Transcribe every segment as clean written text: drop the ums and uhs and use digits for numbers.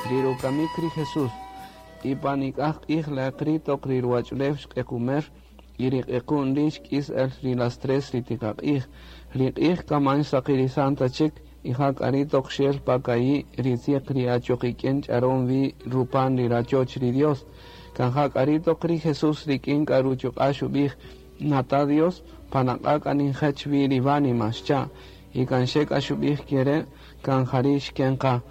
Ri rukamik ri Jesús. Y pa nik'aj q'ij laq ri' toq ri ruwach'ulew xq'equmer y ri q'equ'un ri' xk'is el ri las 3 ri tiqaq'ij. Ri q'ij kaman xsaqirisan ta chik y ja k'a ri' toq xel pa ka'i' ri tzieq ri achoq ik'in ch'aron wi rupan ri rachoch ri Dios. Kan ja k'a ri' toq ri Jesús rik'in k'a ruchuq'a' xub'ij: "Nata' Dios, pan aq'a' k'a ninjech wi ri wánima", xcha'. Y kan xe k'a xub'ij kere' kan jari' xken qa.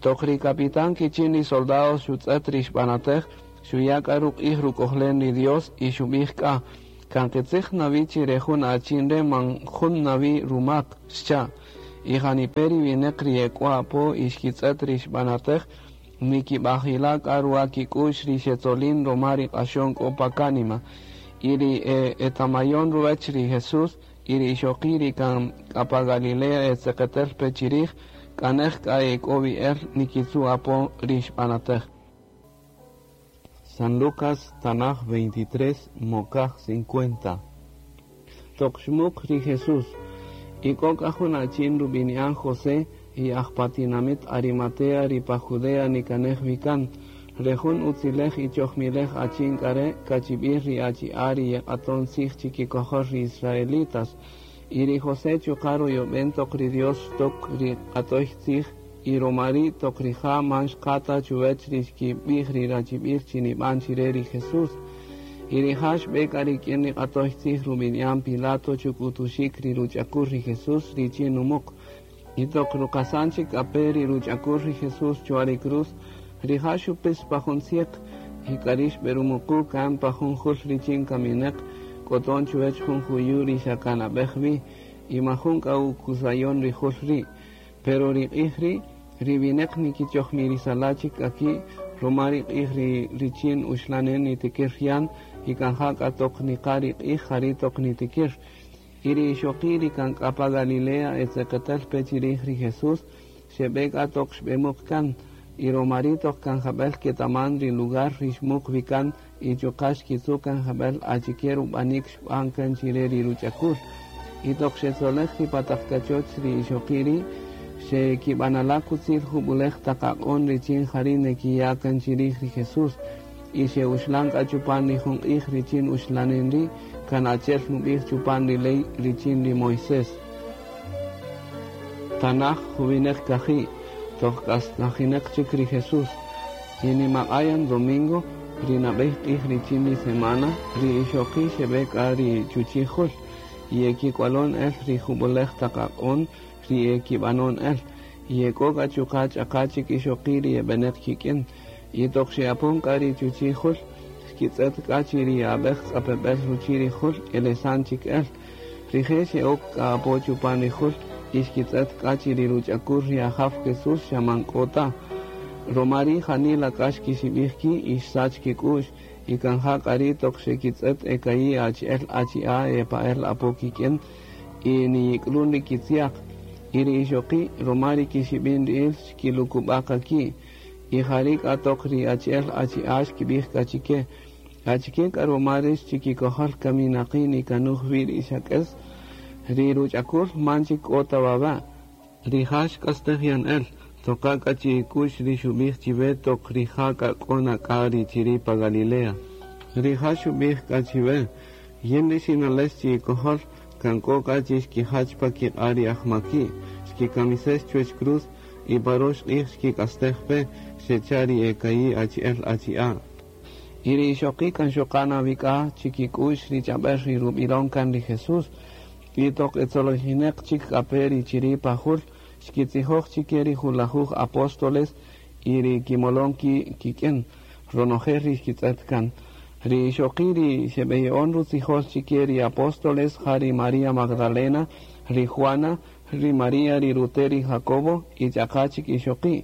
Toq ri capitán kichin ri soldados xutz'et ri xb'anatej, xuya' k'a ruq'ij ruk'ojlen ri Dios y xub'ij k'a: "Kan qitzij nawi chi re jun achin re' man jun nawi rumak", xcha'. Y janipe' ri wineq ri ek'o apo y xkitz'et ri xb'anatej, nikib'ajila' k'a ruwa kik'u'x ri xetzolin roma ri q'axon k'o pa kánima. Y ri etamayon ruwech ri Jesús y ri ixoqi' ri kan k'a pa Galilea etzeqetel pe chirij, k'anej k'a ek'o wi el nikitzu' apo ri xb'anatej. San Lucas Tanaj 23, Mokaj 50. Toq xmuq ri Jesús. Y k'o k'a jun achin rub'ini'an José y aj pa tinamit Arimatea ri pa Judea nikanej wi kan. Re jun utzilej y chojmilej achin k'a re' kachib'il ri achi'a' ri yeq'aton tzij chikikojol ri israelitas. Y ri José chuqa' ruyob'en toq ri Dios xtok ri q'atoy tzij y roma ri' toq rija' man xqa ta chuwech ri xkib'ij ri rachib'il chi nib'an chire ri Jesús. Y rija' xb'e k'a rik'in ri q'atoy tzij rub'ini'an Pilato chuk'utuxik ri ruch'akul ri Jesús richin numuq. Y toq ruqasan chik k'a pe ri ruch'akul ri Jesús chwa ri cruz, rija' xupis pa jun tzieq y k'a ri' xb'erumuqu' kan pa jun jul richin kamineq k'oton chuwech jun juyu' ri xa kan ab'ej wi y majun k'a ukusayon ri jul ri'. Pero ri q'ij ri', ri wineq nikichojmirisala' chik k'a ki' roma ri q'ij ri richin uxlanen nitikir yan y kan ja k'a toq niqa' ri q'ij jari' toq nitikir. Y ri ixoqi' ri kan k'a pa Galilea etzeqetel pe chirij ri Jesús, xeb'e k'a toq xb'emuq kan. Y roma ri' toq kan jab'el ketaman ri lugar ri xmuq wi kan y chuqa' xkitzu' kan jab'el achike rub'anik xb'an kan chire ri ruch'akul. Y toq xetzolej ri pa taq kachoch ri ixoqi' ri', xekib'anala' kutzil jub'ulej taq aq'on richin jari' nekiya' kan chirij ri Jesús. Y xe'uxlan k'a chupan ri jun q'ij richin uxlanen ri' kan achi'el nub'ij chupan ri ley richin ri Moisés. Tanaj juwineq kaji', toq k'asnajineq chik ri Jesús. Y nimaq'a' yan domingo, ri nab'ey q'ij richin ri semana, ri ixoqi' xeb'e k'a ri chuchi' jul y ekik'walon el ri jub'ulej taq aq'on ri ekib'anon el. Y ek'o k'a chuqa' ch'aqa' chik ixoqi' ri eb'eneq kik'in. Y toq xe'apon k'a ri chuchi' jul, xkitz'et k'a chi ri ab'ej tz'apeb'el ruchi' ri jul elesan chik el. Rije' xe'ok k'a apo chupan ri jul y xkitz'et k'a chi ri ruch'akul ri Ajaw Jesús xa man k'o ta. Roma ri' janila k'a xkixib'ij ki' y xsach kik'u'x y kan ja k'a ri' toq xekitz'et eka'i' achi'el achi'a' epa'el apo kik'in y niyik'lun ri kitziaq. Y ri ixoqi' roma ri kixib'in ri'il xkilukub'a' qa ki'. Y jari' k'a toq ri achi'el achi'a' xkib'ij k'a chike: "Achike k'a roma rix chikikojol kaminaqi' nikanuj wi ri xak'es? Ri ruch'akul man chik k'o ta wawa'. Rija' xk'astej yan el. Toqa' k'a chi'ik'u'x ri xub'ij chiwe toq rija' k'a k'o na k'a ri chiri' pa Galilea. Rija' xub'ij k'a chiwe: Yin ri xinalex chi'ikojol kan k'o k'a chi xkijach pa kiq'a' ri ajmaki', xkikamisex chuwech cruz y pa rox q'ij xkik'astej pe", xecha' ri eka'i' achi'el achi'a'. Y ri ixoqi' kan xoqa' na wi k'a chikik'u'x ri ch'ab'äl ri rub'ilon kan ri Jesús. Y toq etzolojineq chik k'a pe ri chiri' pa jul, xkitzijoj chike ri julajuj apóstoles y ri kimolon ki' kik'in, ronojel ri xkitz'et kan. Ri ixoqi' ri xeb'eya'on rutzijol chike ri apóstoles ja ri María Magdalena, ri Juana, ri María ri rute' ri Jacobo y ch'aqa' chik ixoqi'.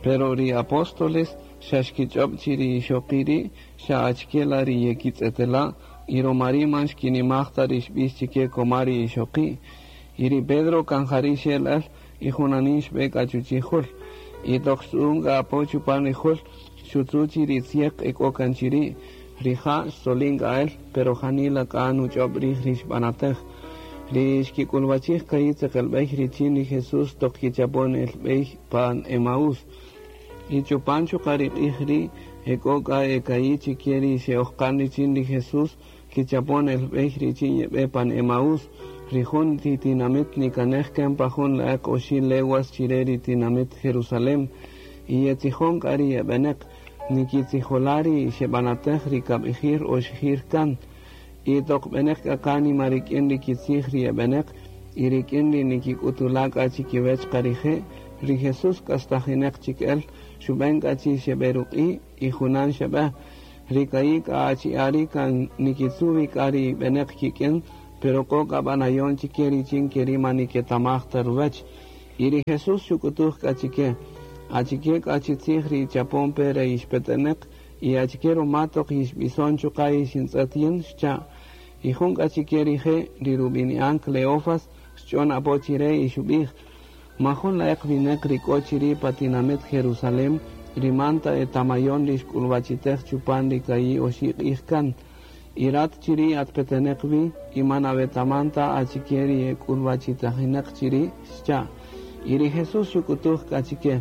Pero ri apóstoles xa xkich'ob' chi ri ixoqi' ri' xa achike la ri yekitz'etela' y roma ri' man xkinimaj ta ri xb'ix chike koma ri ixoqi'. Y ri Pedro kan jari' xel el y junanin xb'e k'a chuchi' jul. Y toq xtz'u'un k'a apo chupan ri jul, xutzu' chi ri tzieq ek'o kan chiri'. Rija' xtzolin k'a el, pero janila k'a nuch'ob' rij ri xb'anatej. Ri xkik'ulwachij ka'i' tzeqelb'ey richin ri Jesús toq kichapon el b'ey pan Emaús. Y chupan chuqa' ri q'ij ri' ek'o k'a eka'i' chike ri xe'ojqan richin ri Jesús kichapon el b'ey richin yeb'e pan Emaús, ri jun ti tinamit nikanej kan pa jun la'eq oxi' leguas chire ri tinamit Jerusalén. Y yetzijon k'a ri yeb'eneq, nikitzijola' ri xeb'anatej ri kab'ijir oxijir kan. Y toq b'eneq k'a kánima rik'in ri kitzij ri yeb'eneq, y rik'in ri nikik'utula' k'a chikiwech qa rije', ri Jesús k'astajineq chik el, xub'en k'a chi xeb'eruq'i' y junan xeb'e. Ri ka'i' k'a achi'a' ri' kan nikitzu' wi k'a ri b'eneq kik'in, pero k'o k'a b'anayon chike richin keri' man niketamaj ta ruwech. Y ri Jesús xuk'utuj k'a chike, Achike k'a chi tzij ri ichapon pe re yixpeteneq, y achike ruma toq yixb'ison chuqa' yixintz'ët yin? Xcha'. Y jun k'a chike rije', ri rub'ini'an Cleofas, xch'on apo chire y xub'ij, Man jun la'eq wineq ri k'o chiri' pa tinamit Jerusalén ri man ta etamayon ri xk'ulwachitej chupan ri ka'i' oxi' q'ij kan. Y rat chiri' at peteneq wi y man awetaman ta achike ri e k'ulwachitajineq chiri', xcha'. Y ri Jesús xuk'utuj k'a chike,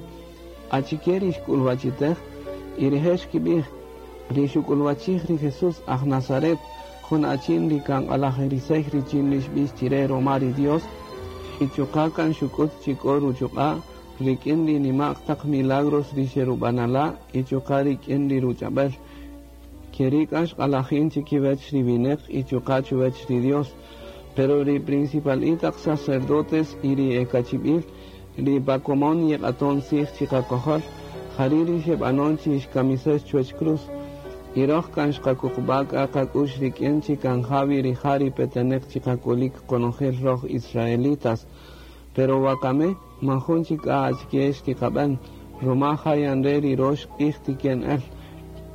Achike ri xk'ulwachitej? Y rije' xkib'ij, Ri xuk'ulwachij ri Jesús aj Nazaret, jun achin ri kan q'alajirisey richin ri xb'ix chire roma ri Dios, y chuqa' kan xuk'ut chi k'o ruchuq'a' rik'in ri nima'q taq milagros ri xerub'anala' y chuqa' rik'in ri ruch'ab'el. Keri' k'a xq'alajin chikiwech ri wineq y chuqa' chuwech ri Dios. Pero ri principal'i taq sacerdotes y ri e kachib'il ri pa komon yeq'aton tzij chiqakojol, jari' ri xeb'anon chi xkamisex chuwech cruz. Y roj kan xqakuqub'a' k'a qak'u'x rik'in chi kan ja wi rija' ri peteneq chiqak'ulik qonojel roj israelitas. Pero wakami man jun chik k'a achike xtiqab'en, ruma ja yan re' ri rox q'ij tiken el.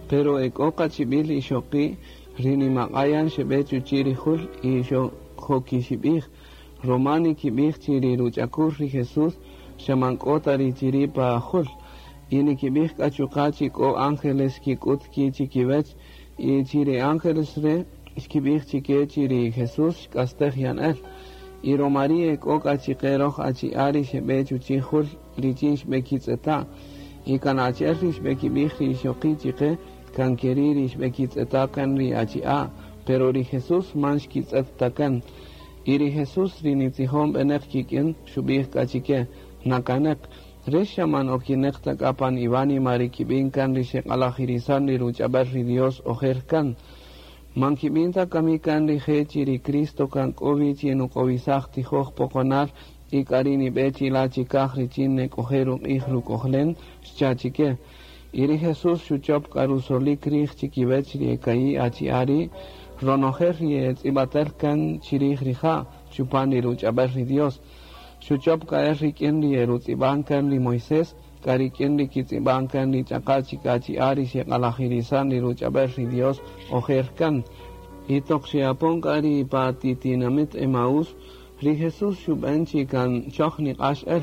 Pero ek'o qachib'il ixoqi' ri nimaq'a' yan xeb'e chuchi' ri jul y xojokixib'ij, ruma nikib'ij chi ri ruch'akul ri Jesús xa man k'o ta ri chiri' pa jul. Y nikib'ij k'a chuqa' chi k'o ángeles xkik'ut ki' chikiwech, y chi ri ángeles re' xkib'ij chike chi ri Jesús xk'astej yan el. Y roma ri' ek'o k'a chiqe roj achi'a' ri xeb'e chuchi' jul richin xb'ekitz'eta'. Y kan achi'el ri xb'ekib'ij ri ixoqi' chiqe, kan keri' ri xb'ekitz'eta' kan ri achi'a', pero ri Jesús man xkitz'et ta kan. Y ri Jesús ri nitzijon b'eneq kik'in, xub'ij k'a chike, Nakaneq, rix xa man okineq ta k'a pan iwánima ri kib'in kan ri xeq'alajirisan ri ruch'ab'el ri Dios ojer kan. Man kib'in ta kami kan rije' chi ri Cristo kan k'o wi chi nuk'owisaj tijoj poqonal y k'ari' nib'e chila' chikaj richin nek'oje' ruq'ij ruk'ojlen? Xcha' chike. Y ri Jesús xuchop k'a rusolik rij chikiwech ri e ka'i' achi'a' ri', ronojel ri e tz'ib'atel kan chirij rija' chupan ri ruch'ab'el ri Dios. Xuchop k'a el rik'in ri e rutz'ib'an kan ri Moisés, k'a rik'in ri kitz'ib'an kan ri ch'aqa' chik achi'a' ri xeq'alajirisan ri ruch'ab'el ri Dios ojer kan. Y toq xe'apon k'a ri pa ti tinamit Emaús, ri Jesús xub'en chi kan choj niq'ax el.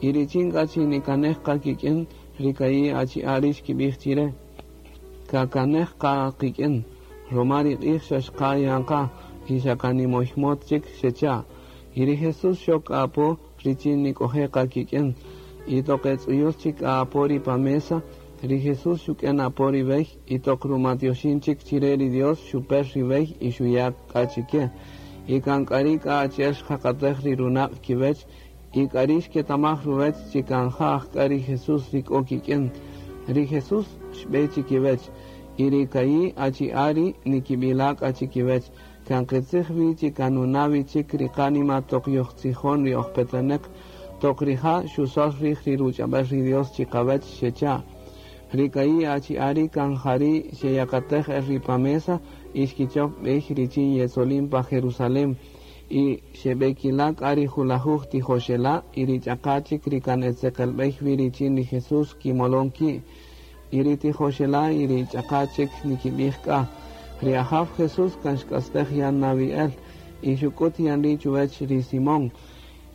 Y richin k'a chi nikanej qa kik'in, ri ka'i' achi'a' ri' xkib'ij chire, Kakanej qa qik'in, roma ri q'ij xa xqa' yan qa y xa kan nimoymot chik, xecha'. Y ri Jesús xok k'a apo richin nik'oje' qa kik'in. Y toq e tz'uyul chik k'a apo ri pa mesa, ri Jesús xuk'en apo ri wey y toq rumatioxin chik chire ri Dios xuper ri wey y xuya' k'a chike. Y kan k'ari' k'a achi'el xjaqatej ri runaq' kiwech y k'ari' xketamaj ruwech chi kan ja ajk'a ri Jesús ri k'o kik'in. Ri Jesús xb'e chikiwech, y ri ka'i' achi'a' ri' nikib'ila' k'a chikiwech, Kan qitzij wi chi kan nuna' wi chik ri qánima toq yojtzijon ri oj peteneq, toq rija' xusol rij ri ruch'ab'el ri Dios chiqawech, xecha'. Ri ka'i' achi'a' ri' kan jari' xeyakatej el ri pa mesa y xkichop b'ey richin yetzolin pa Jerusalén. Y xebekila' k'a ri julajuj tijoxela' y ri ch'aqa' chik ri kan e tzeqelbey wi richin ri Jesús kimolon ki'. Y ri tijoxela' y ri ch'aqa' chik nikibij k'a, Ri Ajaw Jesús kan xk'astej yan na wi el, y xuk'ut yan ri' chuwech ri Simón.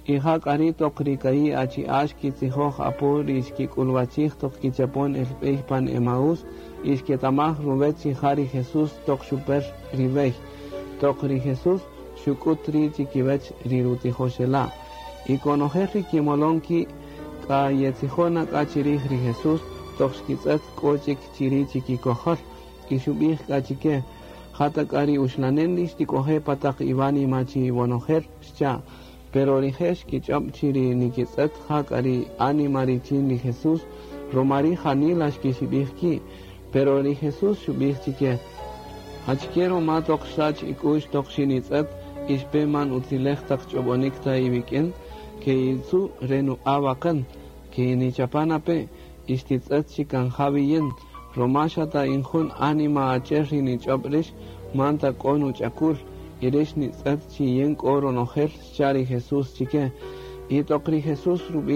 Y ja k'a ri' toq ri ka'i' achi'a' xkitzijoj apo ri xkik'ulwachij toq kichapon el b'ey pan Emaús, y xketamaj ruwech chi ja ri Jesús toq xuper ri wey. Toq ri Jesús xuk'ut ri' chikiwech ri rutijoxela'. Y konojel ri kimolon ki' k'a yetzijon na k'a chirij ri Jesús. toq xkitz'et k'o chik chiri' chikikojol. Y xub'ij k'a chike: Ja ta k'a ri uxlanen ri xtik'oje' pa taq iwánima chi iwonojel, xcha'. Pero rije' xkich'ob' chi ri nikitz'et ja k'a ri ánima richin ri Jesús, romari' janila xkixib'ij ki'. Pero ri Jesús xub'ij chike: Achike roma toq xsach ik'u'x toq xinitz'et y xpe man utzilej taq ch'ob'onik ta iwik'in? Ke'itzu' re nuq'a' waqän, ke'inichapa' na pe y xtitz'et chi kan ja wi yin. Roma xa ta in jun ánima achi'el ri nich'ob' rix, man ta k'o nuch'akul, y rix nitz'et chi yin k'o ronojel, xcha' ri Jesús chike. Y toq ri Jesús rub'in.